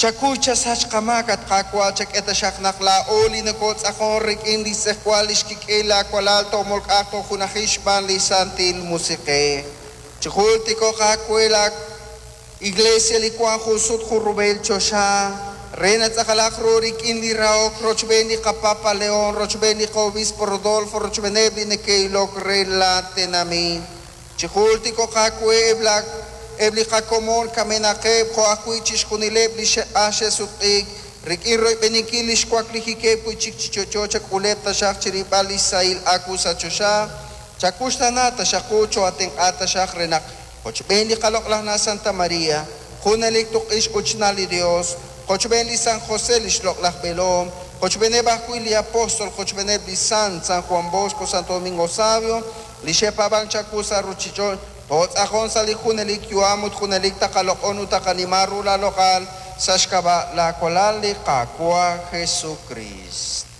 Chakuy chasach qamaak, at Qaawa', chak'e taxaq naq laa'o li nokootz'aqon rik'in li xtz'ejwal li xkik'el laawalal toomolk'aq toojunajil xb'aan li Santil Musiq'ej. Chijultiko'q aawe la Iglesia li wank jun sut jun rub'el choxa, re natz'aqalaq ru rik'in li rahok rochb'een li qaPapa León, rochb'een li qa'Obispo Rodolfo, rochb'eeneb' li neke'ilok re la tenamit. Chijultiko'q aawe eb' la eb' li qakomon kamenaqeb' jo' ajwi' chixjunileb' li xe'q'ax xe'sutq'iik rik'in royb'eninkil li xwaklijikeb' wi' chik chi yo'yo chak'uleb' taxaq chirib'al li xsahil aawu sa' choxa. Chakuxtaana taxaq qu cho'atenq'a taxaq re naq qochb'een li qaloq'laj na' Santa María, junelik tuq'ix uchnal li Dios, qochb'een li San José li xloq'laj b'eelom, qochb'eeneb' ajwi' li apóstol, qochb'eeneb' li Sant, San Juan Bosco, Santo Domingo Savio, li xe'paab'ank chawu sa' ruuchich'och', tootz'aqon sa' li junelik yu'am ut junelik taqaloq'on ut taqanima ru la loq'al sa' xk'ab'a' laawalal li Qaawa' Jesucrist.